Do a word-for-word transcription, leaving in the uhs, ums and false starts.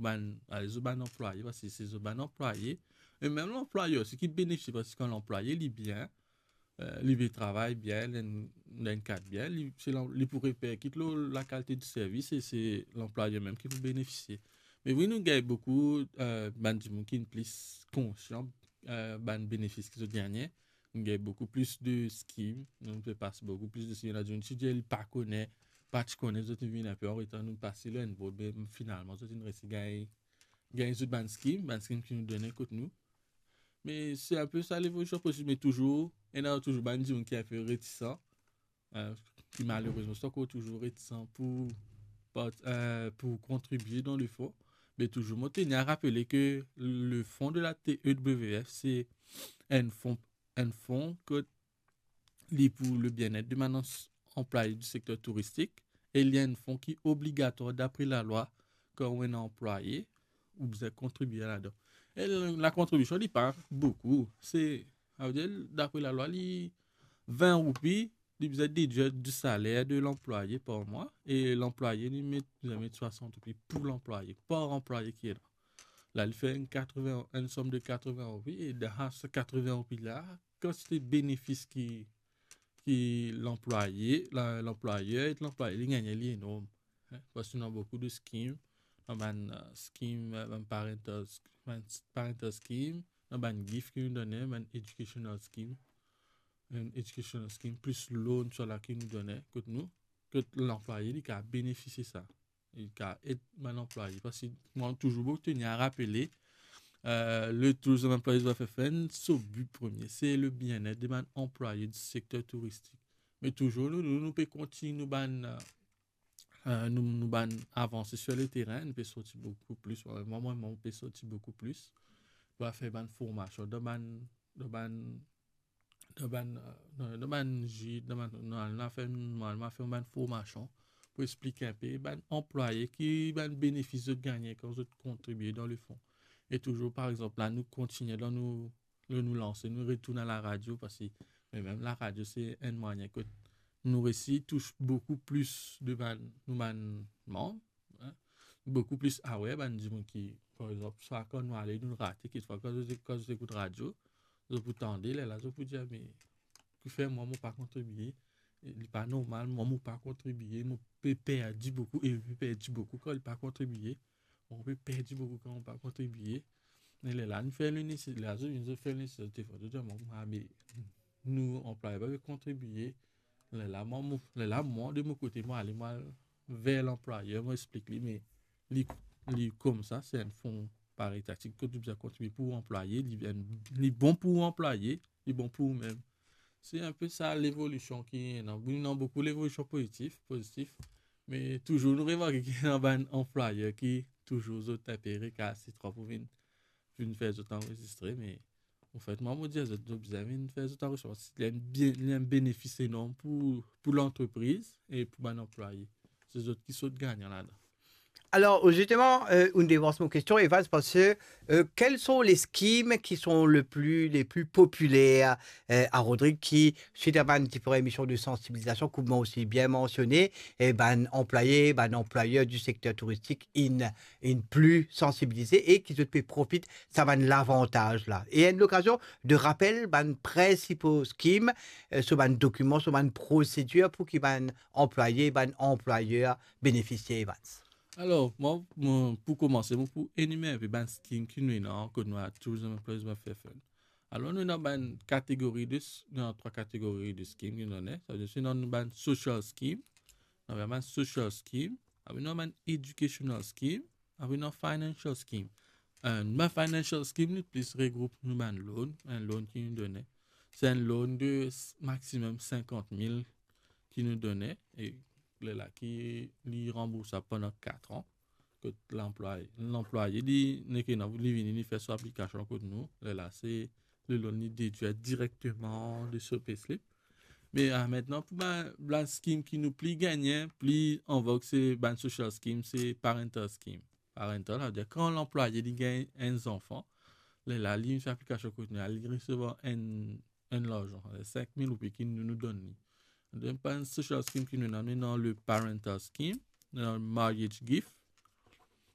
bann, ale, zot bann anplwaye, paski se zot bann anplwaye, e mem lanplwayer osi ki benefisie, paski kan lanplwaye li bien, eh, li pe travay bien, li ena enn kad bien, li, se lan-, li pou reperkit lor lakalite di servis e se lanplwayer mem ki pou benefisie. Me wi, nou gagn boukou, eh, bann dimoun ki plis konsian, eh, bann benefis ki zot gagne. Nou gagn boukou plis de skim, nou pe pas boukou plis de skim. Ena dimoun ki dir li pa kone, pa ti kone, zot vinn enpe an retar, nou pas li enn bout, me finalman zot inn resi gagn, gagn zot bann skim, bann skim ki nou done kot nou. Me se enpe sa levolision posib, me touzour, ena touzour bann dimoun ki enpe retisan, eh, ki malerezman, se ankor touzour retisan pou part-, eh, pou kontribie dan le fon. Me touzour, mo teni a rapele ke le fon de la T E W F, se enn fon, enn fon kot li pou le bienet de bann ans-, anplwaye di sekter touristik, e li enn fon ki obligatwar dapre lalwa, kan ou ena anplwaye, ou bizin kontribie ladan. E la, lakontribision, li pa boukou. Se, savedir, dapre lalwa, li vin roupi, li bizin dedwir di saler de lanplwaye par mwa, e lanplwaye, li met, bizin met swasant roupi pou lanplwaye, par anplwaye ki ena. La, li fer enn katreven, enn som de katreven roupi, e dan sa katreven roupi la, kantite benefis ki, ki lanplwaye, la, lanplwayer ek lanplwaye, li gagne, li enorm. Hein, paski ena boukou de skim, ena bann, eh, skim, eh, bann parental sk-, bann s-, parental skim, ena bann gift ki nou done, bann educational skim, enn educational skim, plis loan, sa la ki nou done kot nou, kot lanplwaye, li kapav benefisie sa. Li kapav ed bann anplwaye. Paski mwa, touzour, mo teni a rapele, eh, le Tourism Employees Welfare Fund, so bi premie, se le bienet de bann anplwaye di sekter touristik. Me touzour, nou, nou, nou pe kontign nou bann, eh, eh, nou, nou bann avanse sir le terin, nou pe sorti boukou plis. Mwa, mwa, mwa, mo pe sorti boukou plis. Mo al fer bann formasion dan bann, dan bann, dan bann, eh, dan, dan bann gid, dan bann, nou al, nou al fer, nou al, nou al fer bann formasion pou explik enpe bann anplwaye ki bann benefis zot gagne kan zot kontribie dan le fon. E touzour, par exanp, la, nou kontigne dan nou, nou, nou lanse, nou retourn a laradio, paski, me mem laradio, se enn mwayin kot nou resi tous boukou plis de bann, nou bann manm, hein, boukou plis aware bann dimoun ki, par exanp, swa kan nou ale, nou rate, kikfwa kan zot, kan zot ekout radio, zot pou tande, lerla zot pou dir, "Me, kifer mwa, mo pa kontribie? Li pa normal, mwa, mo pa kontribie, mo pe perdi boukou, e li pe perdi boukou kan li pa kontribie." Mo pe perdi boukou kan mo pa kontribie. E lerla nou fer le nesesar, lerla zot vinn, zot fer le nesesar, defwa zot dir, "Mwa, mwa, me nou anplwaye pa pe kontribie." Lerla mwa, mo, lerla mwa, de mo kote, mo ale, mo al ver lanplwayer, mo explik li, me li, li koumsa, se enn fon paritatif kot ou bizin kontribie pou anplwaye, li, li bon pou anplwaye, li bon pou ou mem. Se enpe sa levolision ki ena. Ena boukou levolision pozitif, pozitif, me touzour nou remarke ki ena bann anplwayer ki touzour zot enpe rekal, se tro pou vinn, vinn fer zot anrezistre, me anfet, mwa, mo dir zot, zot bizin vinn fer zot anrezistre, paski li enn bien, li enn benefis enorm pou, pou lantrepriz e pou bann anplwaye. Se zot ki sort gagnan ladan. Alors, justement, euh, une de mon question, Evans, parce que, euh, quels sont les schemes qui sont le plus, les plus populaires, euh, à Rodrigues, qui, suite à une différentes émissions de sensibilisation, comme moi aussi bien mentionné, eh ben, employés, ben, employeurs du secteur touristique, ils, ils plus sensibilisés et qui peut profiter, ça va l'avantage là. Et une occasion de rappel, ben, principaux schemes, euh, sur un document, sur une procédure pour qui, ben, anplwaye, bann anplwayer benefisie, Evans? Alor, mwa, mo, pou koumanse, mo pou enimer enpe bann skim ki nou ena kot nou a Tourism Employees Welfare Fund. Alor, nou ena bann kategori de s-, nou ena trwa kategori de skim ki nou ena. Savedir, nou ena bann social skim, nou ena bann social skim, apre nou ena bann educational skim, apre nou ena financial skim. Eh, bann financial skim, nou plis regroup nou bann loan, enn loan ki nou done. Se enn loan de s-, maximum sinkant mil ki nou done, e lerla ki li ranboursab pandan kat an. Kot lanplwaye, lanplwaye, li, nek ena, li vini, li fer so aplikasion kot nou. Lerla, se le loan li dedwir direkteman de so payslip. Me, ah, aster, pou bann, bann skim ki nou pli gagne, pli an vog, se bann social skim, se parental skim. Parental, savedir kan lanplwaye li gagn enn zanfan, lerla li fer aplikasion kot nou, li resevwar enn, enn larzan, sink mil roupi ki nou, nou donn li. Donk, bann social skim ki nou ena, nou ena le parental skim, nou ena marriage gift,